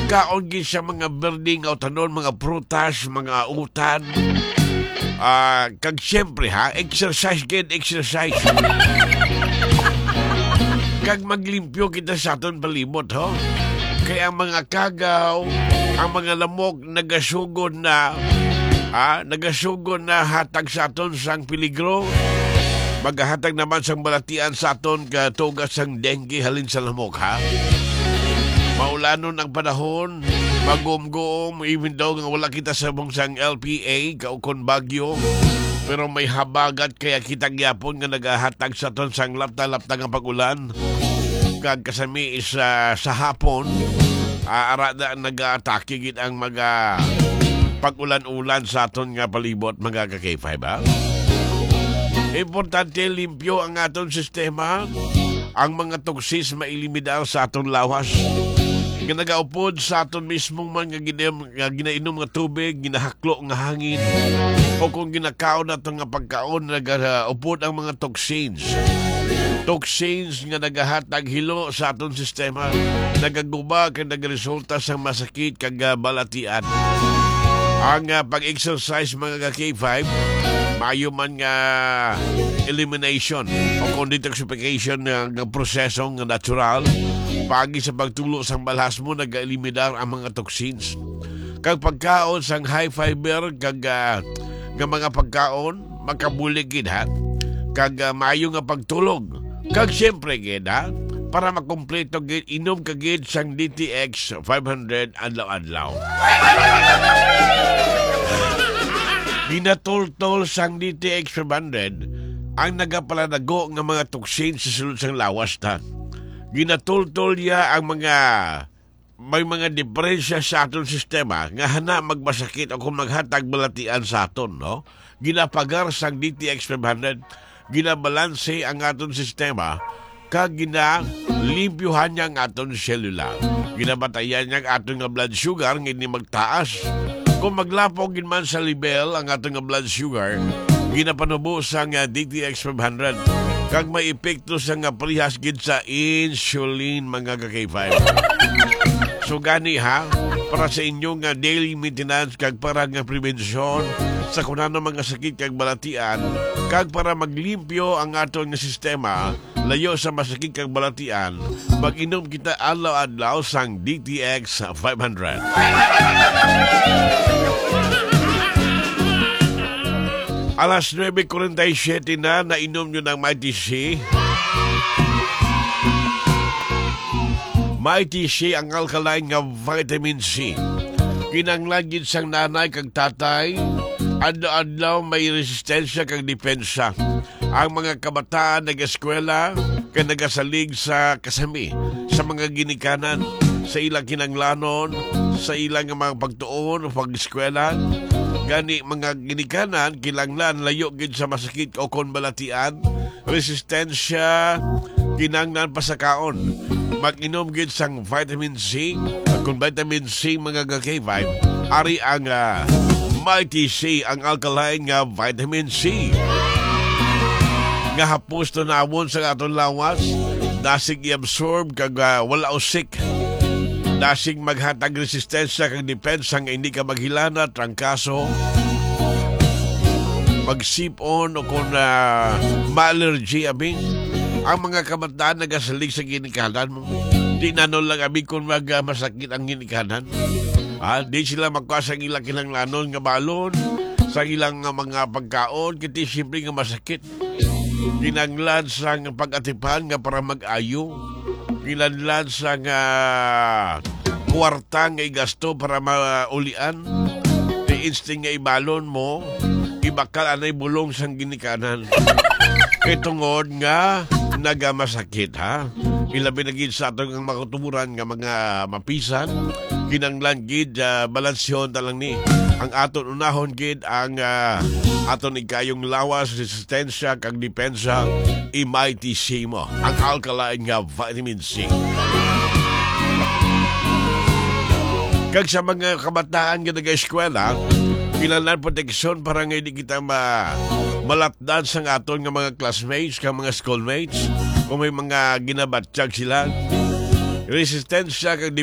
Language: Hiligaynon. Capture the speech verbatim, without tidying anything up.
Kaon gid sa mga berdeng utanon, mga prutas, mga utan. Ah, kag siyempre, ha, exercise gid, exercise. Kag maglimpyo kita sa aton palibot, ho. Kay ang mga kagaw, ang mga lamok nagasugod na, ha, nagasugod na hatag sa aton sang peligro. Magahatag naman sang balatian sa aton katuga sang dengue halin sa lamok, ha. Maulanon ang panahon, magumgum, even though nga wala kita sa mong sang L P A, kaukon bagyo, pero may habagat kaya kita gyapon nga nagahatag sa aton sang lapta-lapta nga pag-ulan. Kag kasami is, ah, sa hapon, ah, ara na nagaatake gid ang mga pag-ulan-ulan sa aton nga palibot, mga ka-K five, ha? Importante, limpyo ang aton sistema. Ang mga toksis mailiminar sa aton lawas nga nagaupod sa aton mismong man nga gina-, nga ginainom nga tubig, ginahaklo nga hangin, o kung ginakaon nato nga pagkaon, nagaupod ang mga toxins. Toxins nga nagahatag hilo sa aton sistema, nagaguba kag nagaresulta sa masakit kag, ah, balatian. Ang, ah, pag-exercise, mga ka-K five, maayo man nga elimination o kung detoxification nga, nga proseso nga natural, paagi sa pagtulo sang balhas mo, nag-eliminar ang mga toxins. Kag pagkaon sang high fiber kag, ah, nga mga pagkaon, makabulig gid, ha. Kag, ah, maayo nga pagtulog. Kag siyempre gid, ha, para makumpleto gid, inom ka gid sang D T X five hundred adlaw-adlaw. Ginatultol sang D T X five hundred ang nagapaladago nga mga toksin sa sulod sang lawas ta. Ginatultol niya ang mga may mga diperensya sa aton sistema nga hana magmasakit o kung maghatag balatian sa aton, no? Ginapagar sang D T X five hundred, ginabalanse ang aton sistema, kag ginalimpyuhan niya ang aton selula. Ginabatayan niya ang aton nga blood sugar nga hindi magtaas. Kung maglapok gid man sa level ang aton nga blood sugar, ginapanubo sang, ah, D T X five hundred, kag may epekto sa nga parehas gid sa insulin, mga ka-K five. So gani, ha, para sa inyo nga daily maintenance kag para nga prevensyon sa kunano mga sakit kag balatian, kag para maglimpyo ang aton nga sistema, layo sa masakit kag balatian, mag-inom kita adlaw-adlaw sang D T X five hundred. Alas nuebe kuwarenta y siyete na, nainom nyo ng Mighty C. Mighty C ang alkaline nga vitamin C. Kinahanglan gid sang nanay kag tatay, adlaw-adlaw may resistensya kag depensa. Ang mga kabataan nag-eskwela kag nagasalig sa kasami sa mga ginikanan sa ilang kinahanglanon, sa ilang mga pagtuon o pag-eskwela. Gani, mga ginikanan, kinahanglan layo gid sa masakit o kon balatian, resistensya, kinahanglan pasakaon. Mag-inom gid sang vitamin C. Kung vitamin C, mga ka-K five, ari ang, ah, Mighty C, ang alkaline nga vitamin C. Nga hapos tunawon sa aton lawas, dasig i-absorb kag, ah, wala usik. Dasig maghatag resistensya kag depensa nga hindi ka maghilana, trangkaso, magsip-on o kung, ah, ma-allergy, abi. Ang mga kabataan nagasalig sa ginikanan mo. Di na no lang, abi, kung mag, ah, masakit ang ginikanan. Ah, di sila makuha sa ilang kinahanglanon nga balon, sa ilang nga mga pagkaon, kiti siyempre nga masakit. Kinahanglan sang pag-atipan nga para mag-ayo. Kinahanglan sang, ah, kwarta nga igasto para maulian. Di instinct nga ibalon mo, ibakal anay bulong sang ginikanan. Kay tungod nga nagamasakit, ha? Ilabi na gid sa aton nga mga katuburan nga mga mapisan, kinahanglan gid, ah, balansyahon ta lang ni. Ang aton unahon gid ang, ah, aton ikayong lawas, resistensya, kag depensa, i-Mighty C mo, ang alkaline nga vitamin C. Kag sa mga kabataan nga nag-eskwela, kinahanglan proteksyon para nga hindi kita ma-, malatdan sa aton nga mga classmates, kag mga schoolmates, kung may mga ginabatyag sila. resistensya kag